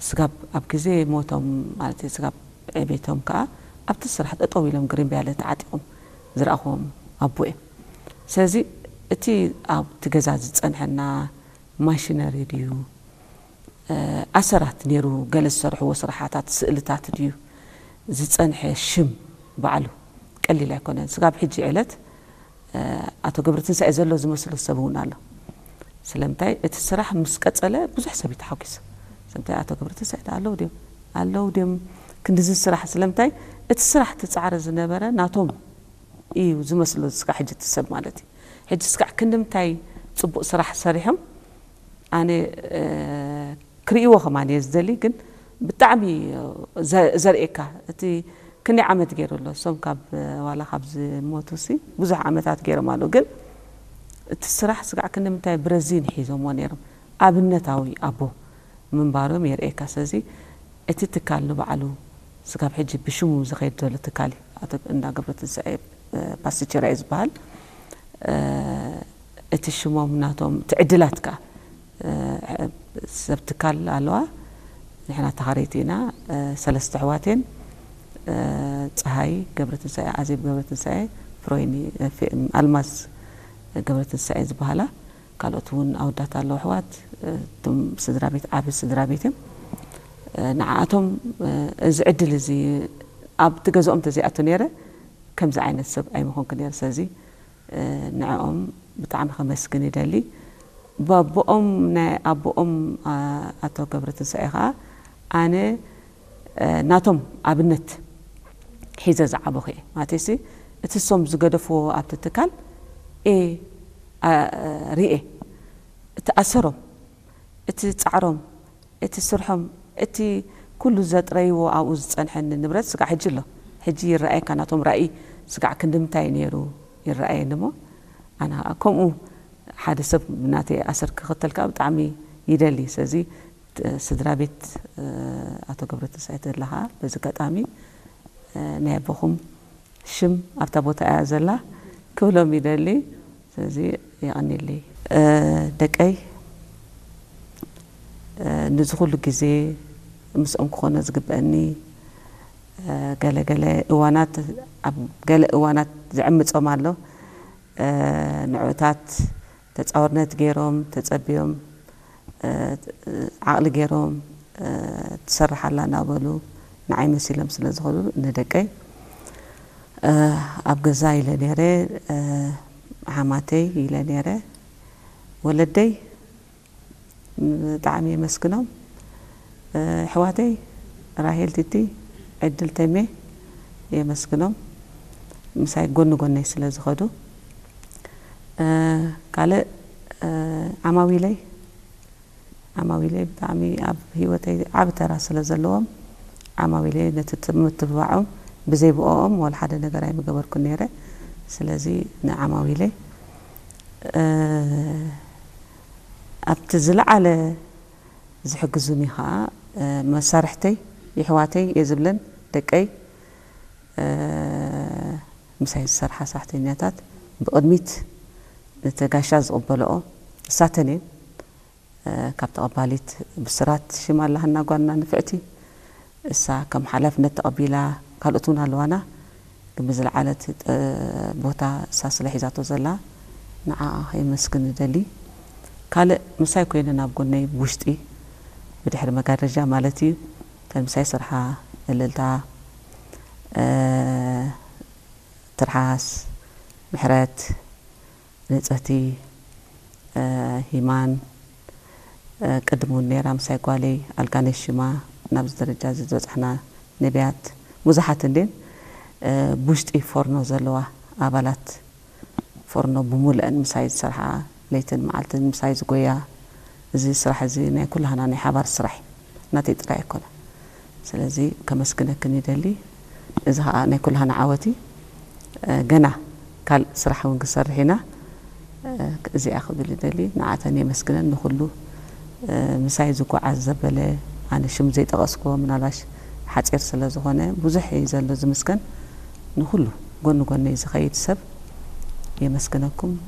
ስጋብ ኣብ ግዜ ሞቶም ማለት እዩ፣ ስጋብ ዕቤቶም ከዓ ኣብቲ ስራሕ ጠጠው ኢሎም ግሪምብያለ ተዓጢቖም ዝረኣኹዎም ኣቦ እዮም። ስለዚ እቲ ኣብቲ ገዛ ዝፀንሐና ማሽነሪ ድዩ፣ እ፣ ኣሰራት ነይሩ፣ ገለ ዝሰርሕዎ ስራሓታት፣ ስእልታት ድዩ ዝፀንሐ ሽም ባዕሉ ቀሊል ኣይኮነን። ስጋብ ሕጂ ዕለት፣ እ፣ ኣቶ ገብረትንሳኤ ዘሎ ዝመስሎ ሰብ እውን ኣሎ። ስለምንታይ እቲ ስራሕ ምስ ቀጸለ ብዙሕ ሰብ እዩ ተሓጒሱ። ስለምንታይ ኣቶ ገብረትንሳኤ ኣለዉ ድዮም? ኣለዉ ድዮም? ክንድዚ ስራሕ ስለምንታይ እቲ ስራሕ ትጻዕረ ዝነበረ ናቶም እዩ ዝመስሎ እስካዕ ሕጂ እቲ ሰብ ማለት እዩ። ሕጂ እስካዕ ክንድምታይ ጽቡቕ ስራሕ ሰሪሖም ኣነ፣ እ፣ ክርእይዎ ከማን እየ ዝደሊ፣ ግን ብጣዕሚ ዘ-፣ ዘርእየካ እቲ ክንደይ ዓመት ገይሩ ኣሎ። እሶም ካብ፣ ዋላ ካብ ዝሞቱ ሲ ብዙሕ ዓመታት ገይሮም ኣለዉ፣ ግን እቲ ስራሕ ስጋዕ ክንደምንታይ ብረዚን ሒዞምዎ ነይሮም። ኣብነታዊ ኣቦ ምንባሮም የርእየካ። ስለዚ እቲ ትካል ንባዕሉ ስጋብ ሕጂ ብሽሙ ዝኸይድ ዘሎ ትካል እዩ። ኣቶ እንዳ ገብረትንሳኤ፣ እ፣ ፓስቲቸራ እዩ ዝበሃል። እ፣ እቲ ሽሞም ናቶም፣ እቲ ዕድላት ከኣ፣ እ፣ ሰብ ትካል ኣለዋ። ንሕና ተኻረይቲ ኢና። እ፣ ሰለስተ ኣሕዋት እየን። እ፣ ጸሃይ ገብረትንሳኤ፣ ኣዜብ ገብረትንሳኤ፣ ፍሮይኒ፣ እ፣ ፌ-፣ ኣልማዝ ገብረትንሳኤ ዝበሃላ። ካልኦት እውን ኣወዳት ኣለዉ ኣሕዋት። እ፣ እቶም ስድራ ቤት ዓቢ ስድራ ቤት እዮም። እ፣ ንዓኣቶም፣ እ፣ እዚ ዕድል እዚ ኣብቲ ገዝኦም እንተዘይኣቱ ነይረ፣ ከምዚ ዓይነት ሰብ ኣይምኾንኩ ነይረ። ስለዚ፣ እ፣ ንዕኦም ብጣዕሚ ከመስግን ይደሊ። ባቦኦም፣ ናይ ኣቦኦም፣ ኣ-፣ ኣቶ ገብረትንሳኤ ኸኣ ኣነ፣ እ፣ ናቶም ኣብነት ሒዘ ዝዓበኹ እየ። ማለተይሲ፣ እቲ እሶም ዝገደፍዎ ኣብቲ ትካል እየ፣ ኣ-፣ ርእየ። እቲ ኣሰሮም፣ እቲ ጻዕሮም፣ እቲ ስርሖም፣ እቲ ኩሉ ዘጥረይዎ ኣብኡ ዝጸንሐኒ ንብረት ስጋዕ ሕጂ ኣሎ። ሕጂ ይረኣየካ ናቶም ራእይ ስጋዕ ክንድምታይ ነይሩ ይረኣየኒ እሞ፣ ኣነ ኸኣ ከምኡ ሓደ ሰብ ናተይ ኣሰር ክኽተል ከኣ ብጣዕሚ ይደሊ። ስለዚ፣ ት-፣ ስድራ ቤት፣ እ፣ ኣቶ ገብረትንሳኤ ተድላ ኸኣ በዚ ኣጋጣሚ፣ እ፣ ናይ ኣቦኹም ሽም ኣብታ ቦታ እያ ዘላ ክብሎም ይደሊ። ስለዚ የቐንየለይ። እ፣ ደቀይ፣ እ፣ ንዚ ኩሉ ግዜ ምስኦም ክኾኖ ዝግበአኒ፣ እ፣ ገለ ገለ እዋናት፣ ኣብ ገለ እዋናት ዝዕምጾም ኣሎ። እ፣ ንዕኡታት ተጻዋርነት ገይሮም፣ ተጸብዮም፣ እ፣ ዓቕሊ ገይሮም፣ እ፣ ትሰርሕ ኣላ እናበሉ ንዓይ መሲሎም ስለ ዝኸዱ ንደቀይ፣ እ፣ ኣብ ገዛ ኢለ ነይረ፣ እ፣ ሓማተይ ኢለ ነይረ፣ ወለደይ ብጣዕሚ የመስግኖም። እ፣ ኣሕዋተይ ራሄል ቲቲ፣ ዕድል ተሜ የመስግኖም። ምሳይ ጎኒ ጎነይ ስለ ዝኸዱ። እ፣ ካልእ፣ እ፣ ዓማዊለይ፣ ዓማዊለይ ብጣዕሚ ኣብ ህይወተይ ዓቢ ተራ ስለ ዘለዎም፣ ዓማዊለይ ነቲ ት-፣ ምትብባዖም ብዘይ ብኦኦም ወላ ሓደ ነገር ኣይምገበርኩን ነይረ። ስለዚ ንዓማዊለይ፣ እ፣ ኣብቲ ዝለዓለ ዝሕግዙኒ ኸኣ፣ እ፣ መሳርሕተይ፣ የሕዋተይ እየ ዝብለን፣ ደቀይ፣ እ፣ ምሳይ ዝሰርሓ ሰራሕተኛታት ብቕድሚት ነቲ ጋሻ ዝቕበልኦ እሳተን እየን። እ፣ ካብ ተቐባሊት ብስራት ሽም ኣላህና ጓልና ንፍዕቲ፣ እሳ ከም ሓላፍነት ተቐቢላ፣ ካልኦት እውን ኣለዋና። ግን ብዝለዓለት፣ እ፣ ቦታ እሳ ስለ ሒዛቶ ዘላ ንዓኣ ከየመስግን እደሊ። ካልእ ምሳይ ኮይነን ኣብ ጎነይ ብውሽጢ ብድሕሪ መጋረጃ ማለት እዩ፣ እተን ምሳይ ዝሰርሓ እልልታ፣ እ፣ ትርሓስ፣ ምሕረት፣ ንጽህቲ፣ እ፣ ሂማን፣ እ፣ ቅድም እውን ነይራ ምሳይ ጓለይ ኣልጋነሽ ሽማ ናብዚ ደረጃ እዚ ዝበጻሕና ነቢያት ብዙሓት እንድየን፣ እ፣ ብውሽጢ ፎርኖ ዘለዋ ኣባላት ፎርኖ ብምሉአን ምሳይ ዝሰርሓ፣ ለይትን መዓልትን ምሳይ ዝጎያ፣ እዚ ስራሕ እዚ ናይ ኩላህና ናይ ሓባር ስራሕ እዩ፣ ናተይ ጥራይ ኣይኮነን። ስለዚ ከመስግነክን ይደሊ። እዚ ኸኣ ናይ ኩላህና ዓወት እዩ። እ፣ ገና ካልእ ስራሕ እውን ክሰርሕ ኢና። እ፣ እዚኣ ክብል ይደሊ። ንዓተን የመስግነን ንኹሉ፣ እ፣ ምሳይ ዝጓዓዝ ዘበለ፣ ኣነ ሽም ዘይጠቐስክዎ ምናልባሽ ሓጺር ስለ ዝኾነ ብዙሕ እዩ ዘሎ ዝምስገን። ንኹሉ ጎኒ ጎነይ ዝኸይድ ሰብ የመስግነኩም።